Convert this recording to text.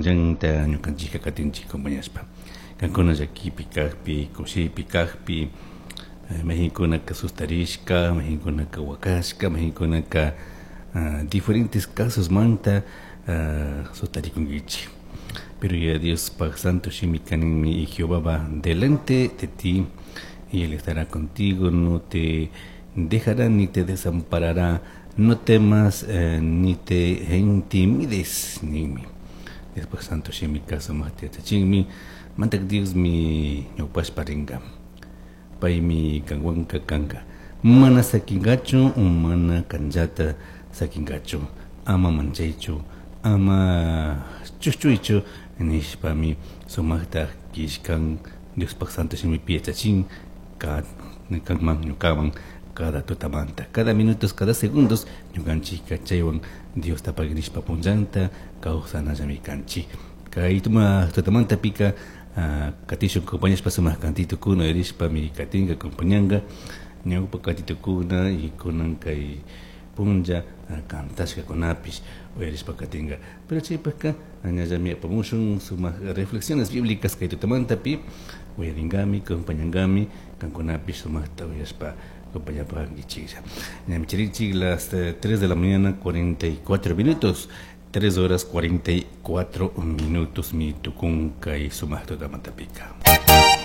Punllanta ñukanchikka katinchik acompañashpa. Kankuna llakipi kakpi, kushipi kakpi, mayqinkunaka sustarishka, mayqinkunaka wakashka, mayqinkunaka diferentes casosmanta sustarikunkichik. Pero Yaya Diospaj Santo Shimika ninmi y Jehová va delante de ti y él estará contigo, no te dejará ni te desamparará, no temas ni te intimides ninmi. Diospaj Santo Shimika sumajta yachachinmi, Mandak Diosmi ñawpashpa ringa, paymi kanwanka kanka, mana sakingachu, mana kanllata sakingachu, ama manchaychu, ama chushchuychu nishpami sumajta killkan Diospaj Santo Shimipi yachachin kanman ñukaman cada tutamanta, cada minutos, cada segundos ñukanchikka chaywan Diosta pagui nishpa punllanta kawsanallami kanchik. Kay tutamantapika katishun acompañashpa sumak kantitukuna uyarishpami katinka acompañanka ñawpa katitukuna y kunan kay punlla cantashkakunapish uyarishpa katinka. Pero chaypaka ñallami apamushun sumak reflexiones bíblicas kay tutamantapi uyarinkami, acompañankami kankunapish sumakta uyashpa acompañapankichiklla. Ñami chirinchik las 3 de la mañana 44 minutos. 3 horas 44 minutos mi tukun kay sumak tutamantapika.